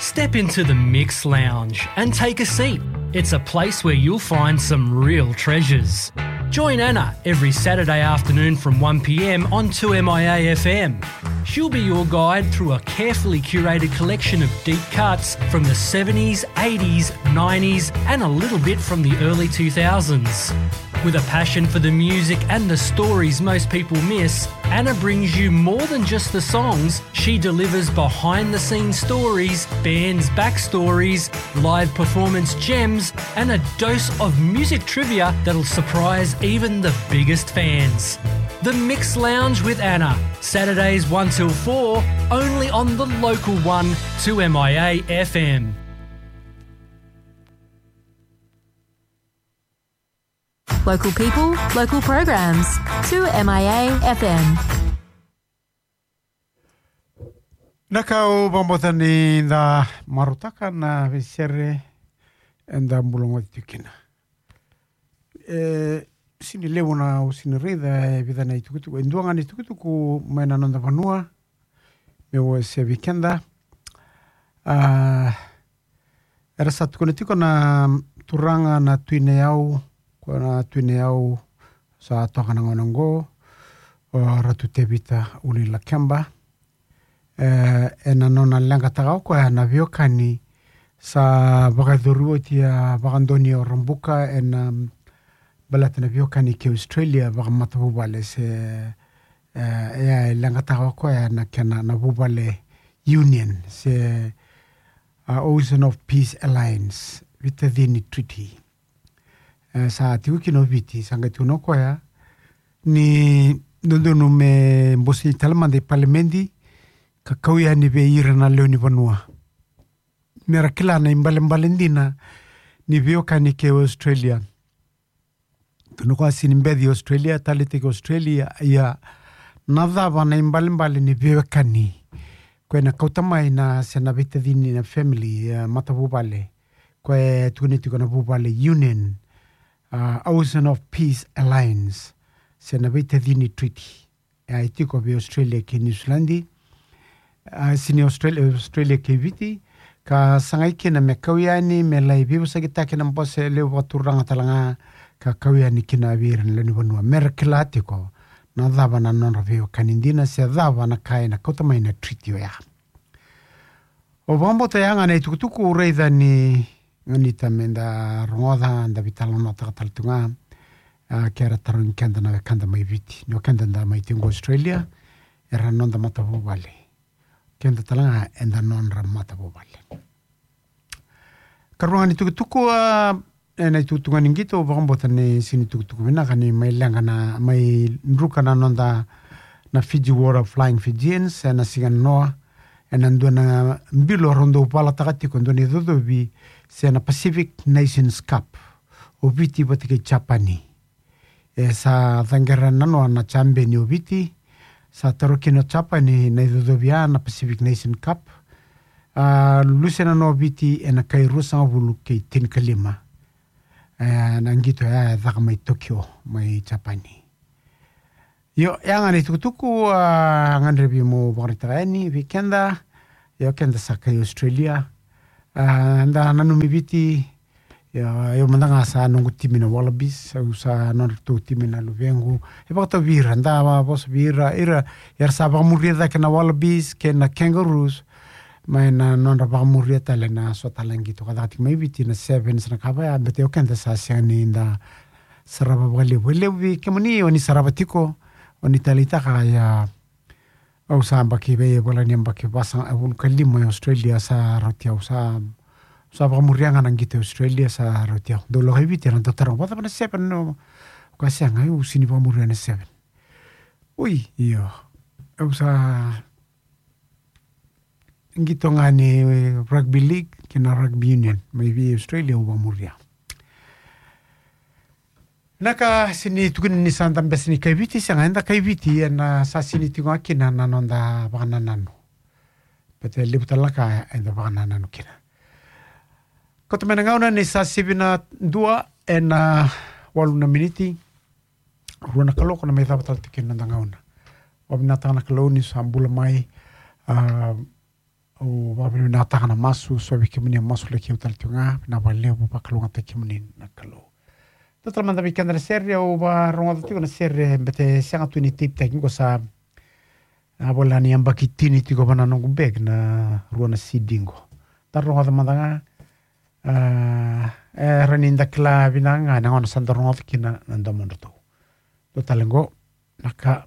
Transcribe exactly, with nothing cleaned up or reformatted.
Step into the Mix Lounge and take a seat. It's a place where you'll find some real treasures. Join Anna every Saturday afternoon from one p.m. on two M I A F M. She'll be your guide through a carefully curated collection of deep cuts from the seventies, eighties, nineties, and a little bit from the early two thousands. With a passion for the music and the stories most people miss, Anna brings you more than just the songs. She delivers behind the scenes stories, bands' backstories, live performance gems, and a dose of music trivia that'll surprise even the biggest fans. The Mix Lounge with Anna, Saturdays one till four, only on the local one, two M I A F M. Local people, local programs. two M I A F M. Na ka au vakabauta ni da marautaka na veisere eda bula goci tiko kina. E sini levu na au sini raica e vica na itukutuku, e dua ga na itukutuku mai na noda vanua meu wasea vei keda. A, era sa tukuna tiko na turaga na Tui Nayau, ko na Tui Nayau sa toka na gauna oqo, o Ratu Tevita Uluilakeba. E, ena nona leqataka o koya na veiwekani sa vakayacori oti a vakadonui o Rabuka ena baleta na veiwekani kei Australia vakamatavuvale se, e, e leqataka o koya na kena na Vuvale Union se, a, Ocean of Peace Alliance, Veitacini Treaty. E, sa tiko kina o Viti, sa qai tukuna o koya ni dodonu me bosei tale mada i palimedi ka kau yani vei ira na lewe ni vanua me ra kila na ibalebale dina ni veiwekani kei Australia. Tukuna o koya sini beci Australia, taleitaki Australia, ia na cava na ibalebale ni veiwekani. Koya na kauta mai na se na veitacini na family, e, matavuvale. Koya e tukuni tiko na Vuvale Union, a, Ocean of Peace Alliance, se na Veitacini Treaty. E a tiko vei Australia kei Niusiladi, a, sini Australia, Australia kei Viti, ka sagai kina me kau yani, me lai veivosakitaki na bose levu vakaturaga tale ga, ka kau yani kina vei ira na lewe ni vanua. Me ra kila tiko na cava na nodra veiwekani dina, se cava na ka ena kauta mai na treaty oya. Au vakabauta ya ga na itukutuku au raica ni ganita me da rogoca, da veitalanoataka tale tu ga, a, ke ra tarogi keda na wekada mai Viti. Ni o keda da mai tiko Australia, era noda matavuvale. Keda tale ga eda nodra matavuvale. Karua ga ni tukutuku, a, ena itukutuku ga ni qito, au vakabauta ni sini tukutuku vinaka ni mai leqa na, mai druka na noda na Fiji Water Flying Fijians, ena siga nanoa, ena dua na bilo rau dau valataka tiko, dua na icocovi se na Pacific Nations Cup, o Viti vata kei Japani. E sa caqera nanoa na jabeni o Viti, sa taro kina o Japani na icocovi ya na Pacific Nation Cup. A, luse nanoa o Viti ena kai ruasagavulu kei tinikalima. E, na qito ya e caka mai Tokyo, mai Japani. Io, ya ga na itukutuku, a, gadrevi mo vakaraitaka yani vei keda. Io, keda sa kai Australia. A, da nanumi Viti. Io, io mada ga sa noqu timi na Wallabies, au sa nodratou timi na luvequ. E vakatau vei ira, da vosa vei ira, ira, era sa vakamuria cake na Wallabies kei na Kangaroos. Mai na nodra vakamuria tale na so tale na qito ka caka tiko mai Viti na sevens na ka vaya, bete o keda sa sega ni da sarava vakalevu. E levu vei kemuni o ni sarava tiko, o ni taleitaka, ia, au sa yabaki vei, e volai ni yabaki vasagavulu ka lima e Australia sa rauti au, sa, sa vakamuria ga na qito e Australia sa rauti au. Dou lako i Viti ena dau taroga, vakacava na seven? No, ka sega, au sini vakamuria na seven. Oi, io. Au sa qito ga ni rugby league kei na rugby union mai vei Australia au vakamuria. Na ka sini tukuni ni sa da bese ni kai Viti, sega, eda kai Viti, ena sa sini tiko ga kina na noda vakanananu. Bete levu tale na ka eda vakanananu kina. Kauta mai na gauna ni sa sivi na dua ena walu na miniti. Rua na kaloko na mai cava tale tiko kina noda gauna. Vakavinavinakataka na Kalou ni sa bula mai, a, au Vakavinavinakataka na masu, so vei kemuni a masulaki au tale tiko ga, vinaka vakalevu, vakalougatataki kemuni na Kalou. Dua tale mada vei keda na sere, au varogoca tiko na sere, bete sega tu ni teiptaki qo sa, a, vola ni yabaki tini tiko va na noqu bag na rua na C D qo. Da rogoca mada ga, a, e, rawa ni da kila vinaka ga na gauna sa da rogoca kina na domodratou. Dua tale qo, na ka